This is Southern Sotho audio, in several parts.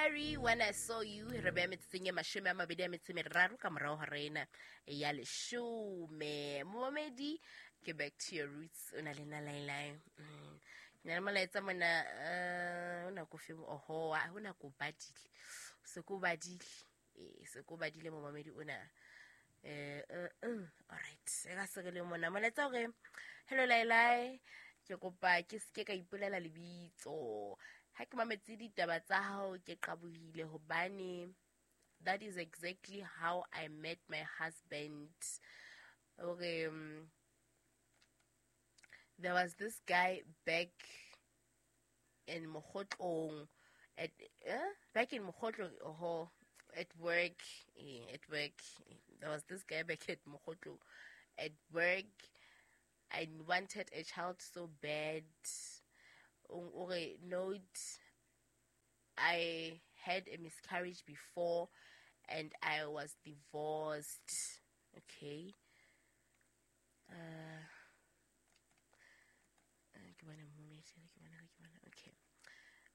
Perry, When I Saw You. Re beya metsotsong e 23 ka morao hora ena ya 10. Momamedi ke Back to Your Roots, o na le nna Lailai. Ke na le molaetsa mona, o nako fe, oho, o nako badile, se ko badile, se ko badile momamedi ona. Alright, e ka se re le mona molaetsa hore hello Lailai, ke kopa ke seke ka ipolela lebitso. Ha ke mametse ditaba tsa hao ke qabohile hobane that is exactly how I met my husband. Okay, there was this guy back in Mokhotlong at back in Mokhotlong, oh, at work, at work. There was this guy back at Mokhotlong at work. I wanted a child so bad. Okay, note, I had a miscarriage before and I was divorced. Okay. Okay.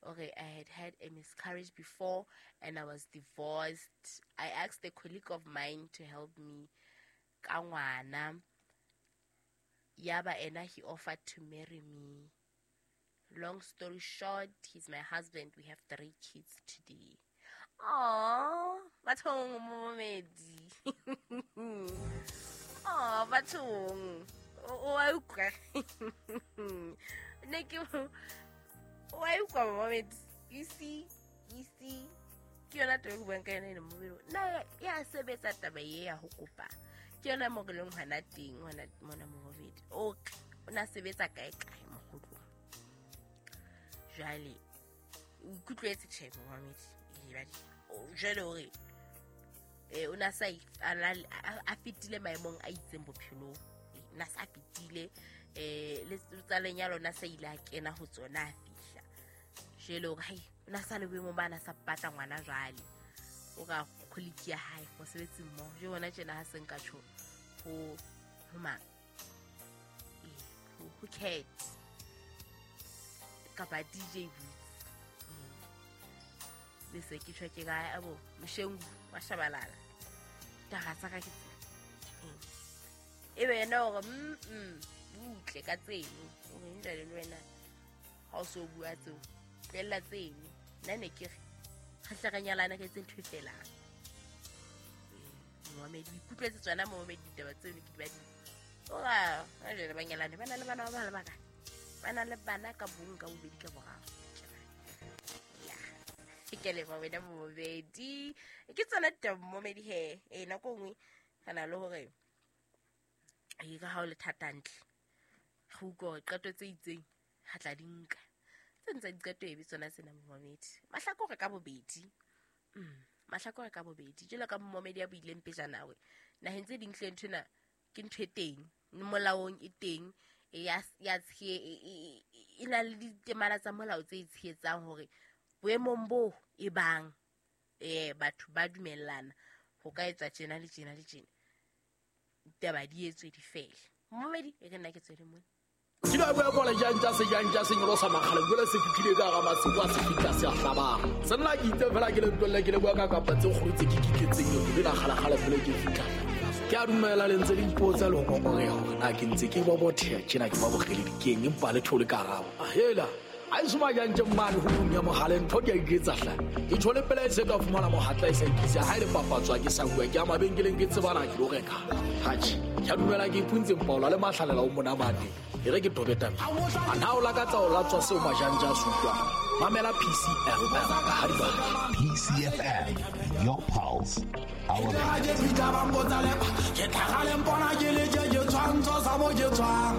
Okay, I had a miscarriage before and I was divorced. I asked a colleague of mine to help me. Ka ngwana. Yaba ena, he offered to marry me. Long story short, he's my husband. We have 3 kids today. Aww, bathong momedi. Aww, bathong. O a utlwa. Ne ke o a utlwa momedi. You see, ke yona taba e ke buang ka yona ena momedi. Na ya sebetsa taba e ya ho kopa. Ke yona mo re leng hona teng hona mona momedi. Okay, o na sebetsa kae kae mokgotlong. Jwale o ikutlwetse tjhe momedi. Jwale hore o na sa a fetile maemong a itseng bophelong. Na sa fetile le tsa lenyalo na sa ile a kena ho tsona a fihla. Jwale hore hai o na sa le boemong ba na sa batla ngwana jwale. O ka colleague ya hae mosebetsing mmoho. Jwale bona tjena ha se nka tjho ho mang? Ho Cat kapa DJ Boots. Le se ke tjho ke kae abo Moshengu wa Shabalala. Taba tsa ka ke tse. E be yena hore butle ka tseno. O re njale le wena ha o so bua tseo. Tlohella tseno. Nna ne ke re re hle re nyalane re etse ntho e felang. Momamedi o ikutlwetse tsona momamedi ditaba tseno ke di badile. Ora, ha jwale ba nyalane ba na le bana ba bang le ba kae? Ba na le bana ka bong ka bobedi ka boraro. Ke leboha wena momamedi. Ke tsona ditaba momamedi he. Nako e nngwe re na le hore e ka ha o le thata hantle. Re utlwa hore qeto tse itseng re tla di nka. Tse ntse diqeto e be tsona tsena momamedi. Mahlakore ka bobedi. Mahlakore ka bobedi. Jwalo ka momamedi ya buileng pejana hore naheng tse ding hle nthwena ke ntho e teng, molaong e teng, ya e na le ditemana tsa molao tse e tshehetsang hore boemong bo e bang batho ba dumellana ho ka etswa tjena le tjena le tjena, ditaba di etswe di fele. Momamedi e re nna ke tswele mona. Ke la bua kola jantja se jantja se nyolosa makgale jwale se fihlile ka hara masimo a se fihla se a hlabang. Se nna ke itse fela ke le ntwelle ke le bua ka kapa tse kgolo tse ke kitletseng le la kgalakgala pele ke fihla. Ke a dumela le ntse le ipotsa le ho ngongoreha hore na ke ntse ke bobotheha tjena ke ba bokgeledi keng empa le thole karabo. Hela a e soma jantje mmane ho ya mohale ntho ke a iketsa hla. Ke thole pele e se ka fumana mohatla e sa ikisa ha e le papatswa ke sa bua ke a mabenkeleng ke tsebana ke lo reka. Hatjhe, ke a dumela ke ipuntse Mpaola le mahlalela o monamane. E re ke tobe taba. A na o lakatsa o latswa seo majanja a se utlwang. Mamela PCFM ha di batla. PCFM, your pulse, our Ke fihla ba mpotsa lepa, ke tlhaga le mpona ke le tje ke tshwantsho sa mo ke tswang.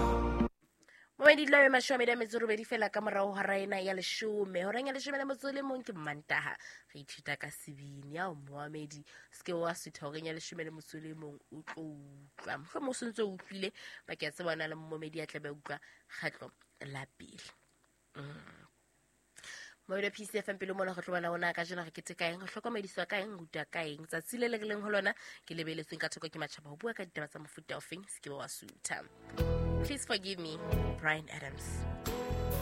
Momedi la 28 fela ka morao hora ena ya 10. Horeng ya 11 ke Mantaha. Re ithuta ka sebini ya momedi. Se ke wa sutha horeng ya 11 o tlo utlwa. Mohlomong o sentse o utlwile ba ke a tseba na le momedi ya tla be utlwa kgetlo la pele. Momedi PCFM pele mona go tlo bona ona ka jena re keteka eng, re hlokomediswa ka eng, ruta ka eng. Tsatsi le le leng ho lona ke lebeletsweng ka thoko ke matjhaba ho bua ka ditaba tsa mofuta ofeng, se ke wa sutha. Please forgive me, Bryan Adams.